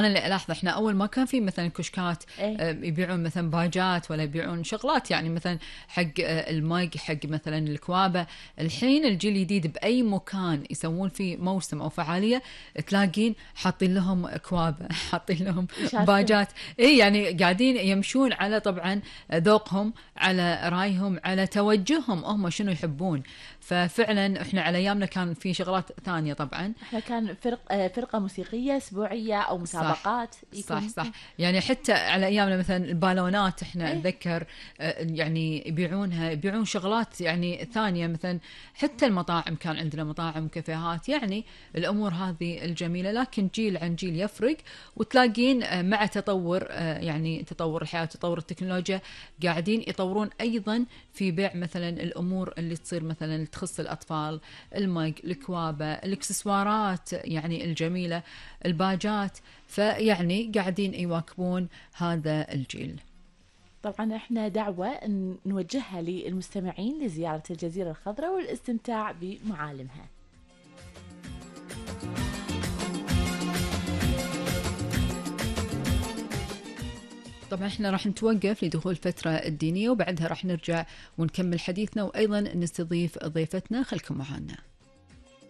أنا اللي ألاحظ إحنا أول ما كان في مثلا كشكات إيه. يبيعون مثلا باجات ولا يبيعون شغلات يعني مثلا حق الماج حق مثلا الكوابة. الحين الجيل الجديد بأي مكان يسوون فيه موسم أو فعالية تلاقين حاطين لهم كوابة حاطين لهم يشاركون. باجات. إيه يعني قاعدين يمشون على طبعا ذوقهم، على رأيهم، على توجههم هم شنو يحبون. ففعلا إحنا على أيامنا كان في شغلات ثانية طبعا. احنا كان فرقة موسيقية أسبوعية أو صح مسابقات صح يكون. صح. يعني حتى على ايامنا مثلا البالونات احنا ايه. اتذكر يعني يبيعونها، يبيعون شغلات يعني ثانيه مثلا. حتى المطاعم كان عندنا مطاعم وكافيهات، يعني الامور هذه الجميله. لكن جيل عن جيل يفرق، وتلاقين مع تطور يعني تطور الحياه وتطور التكنولوجيا قاعدين يطورون ايضا في بيع مثلا الامور اللي تصير مثلا تخص الاطفال، المج، الكوابه، الاكسسوارات يعني الجميله، الباجات. فيعني قاعدين يواكبون هذا الجيل. طبعا احنا دعوة نوجهها للمستمعين لزيارة الجزيرة الخضراء والاستمتاع بمعالمها. طبعا احنا راح نتوقف لدخول الفترة الدينية، وبعدها راح نرجع ونكمل حديثنا، وأيضا نستضيف ضيفتنا. خلكم معنا.